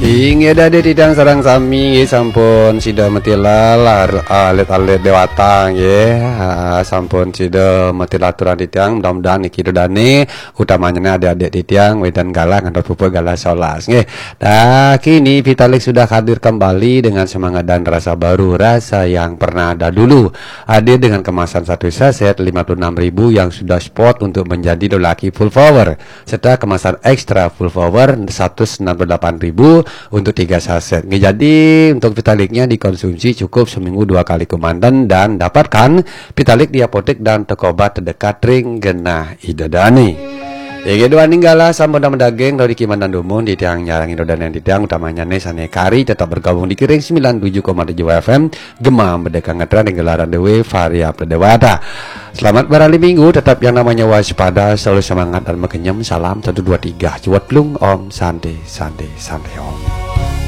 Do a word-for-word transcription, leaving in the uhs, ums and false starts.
Inggih, ida-ida titiang sareng sami, nggih, sampun sida matilar alit-alit dewata, nggih. Ha, sampun sida matilar aturan titiang, mudah-mudahan niki ida-idane, utamanya adik-adik titiang, wedan galah ngantos puput galah solas, nggih. Dah, kini Vitalik sudah hadir kembali dengan semangat dan rasa baru, rasa yang pernah ada dulu. Hadir dengan kemasan satu saset lima puluh enam ribu yang sudah spot untuk menjadi lelaki full power, serta kemasan ekstra full power seratus enam puluh delapan ribu untuk tiga saset. Nggih, jadi untuk Vitaliknya dikonsumsi cukup seminggu dua kali kemanten dan dapatkan Vitalik di apotek dan toko obat terdekat ring genah ida dane. Inggih, duaning galah sampun damel daging, riki mandan dumun, titiang nyarengin ida dane titiang utamanya ne sane kari tetap bergabung di Kiring sembilan tujuh koma tujuh F M, Gema Merdeka Ngetren, ring gelaran dewe Varia Pradewata. Selamat berali minggu, tetap yang namanya waspada, selalu semangat dan makenyem. Salam satu dua tiga, cuat plung, Om Santi, Santi, Santi Om.